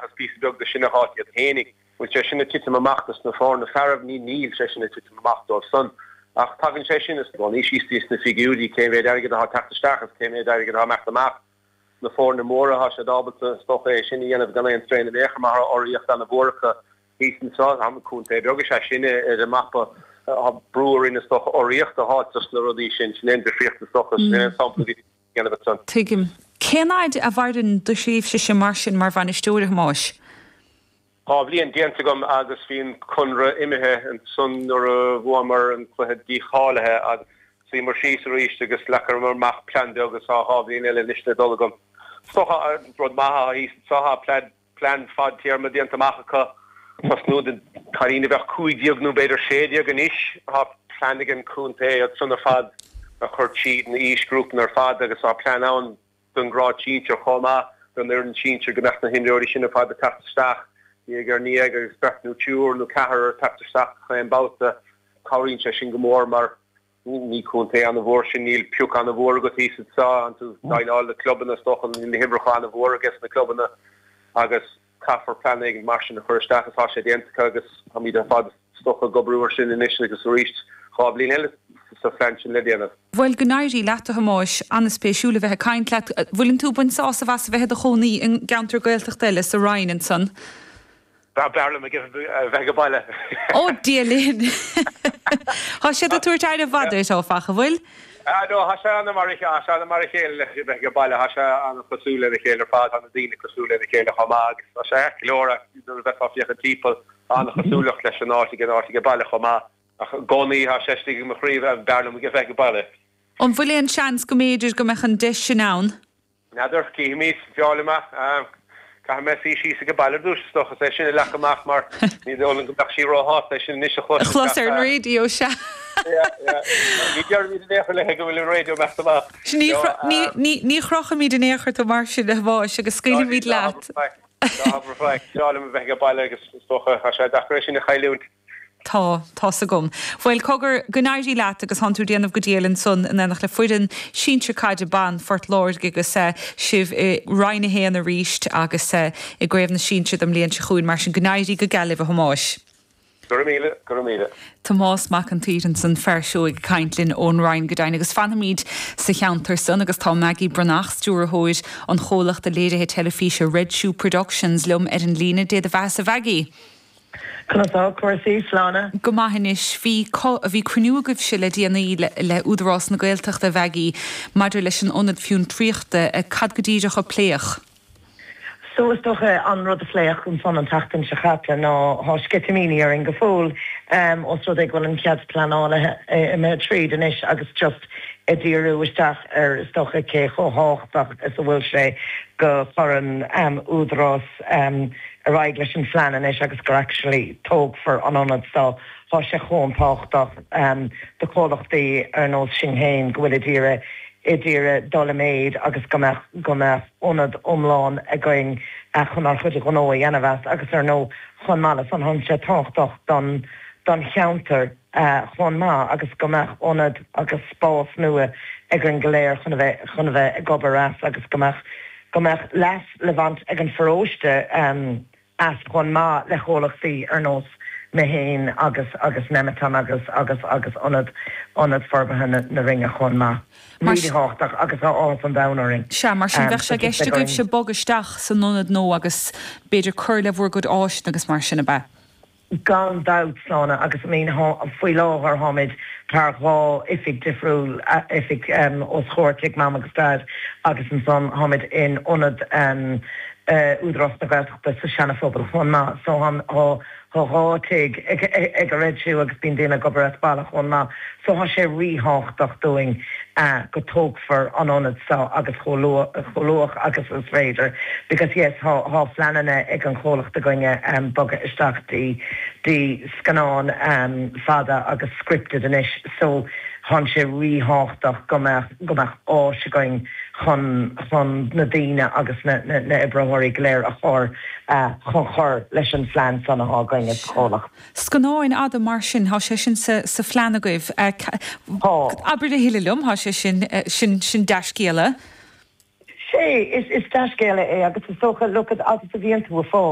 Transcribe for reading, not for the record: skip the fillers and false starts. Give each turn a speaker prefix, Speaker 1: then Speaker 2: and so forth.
Speaker 1: ach is píosa beag de sin a fháilt iad fhéinig. Bhfuil sé sin ag titim amach dos na foirne fearaibh? Ní níl sé sin ag titim amach dóibh san. Ach tagann sé sin i gcónaí síos thíos sna figiúirí, cé mhéad airgead atá ag teacht isteach is cé mhéad airgead atá ag imeacht amach. Na foirne móra, tá siad ábalta is dócha é sin a dhéanamh gan aon strain in aon chor mar tá urraíocht ana-mhór acu thíos anso. Tá contae beag is ea sinne ar an mapa. Tá brú orainn is dócha urraíocht a fháilt dos na rudaí sin. Sin é an difríocht is dócha. Sin é an sampla a bhí. dhéanamh ansan.
Speaker 2: Tuigim. Cén fhaid a mhaireann do thréimhse-se mar sin mar bhainisteoir, a Thomáis?
Speaker 1: 2 bhliain déanta agam agus bhí an conradh imithe ansan nuair a bhuamar an cluiche dícháilithe agus suíomar síos arís agus leagamar amach plean beag agus tá 2 bhliain eile anois le dul agam. Is dócha an rud maith atá thíos anso, tá plean plean fadtéarma déanta amach acu. Tosnú na cailíní a bheadh 15 nó b'fhéidir 16 anois. Tá plean ag an chontae iad san ar fad a chur tríd na aoisghrúpanna ar fad agus tá plean ann don ghrád sinsir chomh maith, don fhoireann sinsir go mbeadh na himreoirí sin ar fad ag teacht isteach diaidh ar ndiaidh agus beirt nó triúr nó ceathrar ag teacht isteach chaon babhta. Cabhraíonn sé sin go mór mar Ní contae an-mhór sinn, níl pioc an-mhór agat thíos anseo, tánn tú ag déileáil le clubanna is dócha, níl na huimhreacha an-mhór ages na clubanna agus caithfear plean éigin mar sin a chur isteach agus tá sé déanta acu agus táimid ar fad is dócha ag oibriú ar sin anois agus arís 2 bhliain eile sa phlean sin le déanamh.
Speaker 2: Bhuel, go n-éirí leat, a Thomáis. An-spéisiúil a bheith ag caint leat. Bhfuileann tú ag baint sásamh as a bheith i do chónaí i gceantar Gaeltachta eile, sa Rinn ansan?
Speaker 1: B'fhearr liom a bheith age baile.
Speaker 2: Ó Dia linn! Tá siad ag tabhairt aire mhaith duit, áfach, an bhfuil?
Speaker 1: Ah no, tá sé ana mar a, tá sé ana mar a chéile le bheith age baile, tá sé ana chosúil lena chéile ar fad, tá na daoine cosúil lena chéile chomh maith agus tá sé ait go leor nuair a bheifeá ag féachaint timpeall, tá ana chosúlacht leis an áit ag an áit age baile chomh maith. Ach i gcónaí tá sé istigh i mo chroí, b'fhearr liom a bheith age baile.
Speaker 2: An bhfuil aon seans go mb'fhéidir go mbeadh an deis sin ann?
Speaker 1: N'fheadar, cífimid, b'fhearr liom é. Caithfidh mé suí síos age baile ar dtús, is dócha, is é sin a leagan amach mar ní dóigh liom go mbeadh sí róshásta é sin anois a
Speaker 2: chlos. A chlos ar an raidió, sea.
Speaker 1: Yeah, yeah. Ní déarfaimid in aon chor léi go bhfuil an raidió imeacht amach.
Speaker 2: Ní chrochfaimid in aon chor tú mar sin, a Thomáis, agus scaoilfimid leat.
Speaker 1: Ná habair faic. B'fhearr liom a bheith age baile agus is dócha, tá sé deacair é sin a chailliúint.
Speaker 2: Tá, tá's agam. Bhuel, cogar, go n-éirí leat agus tánn tú ag déanamh go diail ansan in éineacht le foireann sinsir caide ban Phort Láirge agus sibh i Roinn 1 arís agus i gCraobh na Sinsear don mbliain seo chugainn mar sin go n-éirí go geal libh a Thomáis.
Speaker 1: Go raibh míle, go raibh míle.
Speaker 2: Tomás Mac an tSaoir ansan, fear seoigh ag caint linn ón Rinn go deimhin agus fanfaimid sa cheantar san agus tá Maggie Breathnach, stiúrthóir an chomhlachta léirithe teilifíse Red Shoe Productions liom ar an líne. Dé do bheatha-sa Mhaggie.
Speaker 3: Conas tá cúrsaí, Sláine?
Speaker 2: Go maith anois. Bhí, bhí cruinniú agaibhse le déanaí le Údarás na Gaeltachta, a Mhaggie, maidir leis an ionad fiontraíochta. Cad go díreach a pléadh?
Speaker 3: So is dócha an rud a pléadh ansan an tseachtain seo caite ná tá sceitimíní orainn go fóill os rud é go bhfuil an cead pleanála imithe tríd anois agus just ag díriú isteach ar is dócha cé chomh thábhachtach is a bhfuil sé go chuireann Údarás ar aghaidh leis an phlean anois agus gur actually tógfar an ionad so tá sé chomh tábhachtach do chomhlachtaí ar nós sinn féin go bhfuil ag iarraidh ag iarraidh dul i méid agus go mbeadh go mbeadh ionad iomlán againn chun ár chuid gnó a dhéanamh as agus ar ndóigh chomh maith le san tá sé tábhachtach don don cheantar chomh maith agus go mbeadh ionad agus spás nua againn go léir chun a bheith chun a bheith ag obair as agus go mbeadh go mbeadh leas le baint ag an pharóiste as chomh maith le comhlachtaí ar nós mé féin agus agus Nemeton agus agus agus Ionad Ionad Forbartha na na Rinne chomh maith. Really thábhachtach agus tá áthas an domhain orainn.
Speaker 2: Sea, mar sin bheadh sé i gceist agaibhse bogadh isteach san ionad nua agus b'fhéidir cur le bhur gcuid áiseanna agus mar sin, ab ea?
Speaker 3: Gan dabht, Sláine, agus I mean faoi láthair táimid thar dhá oifig difriúil, oifig os comhair Tigh Mam agus Daid agus ansan táimid in ionad Údarás na Gaeltachta sa Seana Phobal chomh maith. So tá dhá tigh ag an Red Shoe agus bíonn daoine ag obair as baile chomh maith. So tá sé ríthábhachtach dúinn go tógfar an ionad seo agus chomh luath agus is féidir because yes tá tá phleananna ag an chomhlacht againne bogadh isteach dtí dtí scannán fada agus scripted anois so tá sé ríthábhachtach go mbeadh go mbeadh áis againn chun chun na daoine agus na na na oibritheoirí go léir a chur chun cur leis an phlean san atá againn as comhlacht.
Speaker 2: Scannáin fhada mar sin, tá sé sin sa phlean agaibh.
Speaker 3: Tá.
Speaker 2: Abair a thuilleadh liom, tá sé sin, sin, sin dea-scéala.
Speaker 3: Sea, is, is dea-scéala é agus is dócha, look, agus a bhíonn tú ag fáil.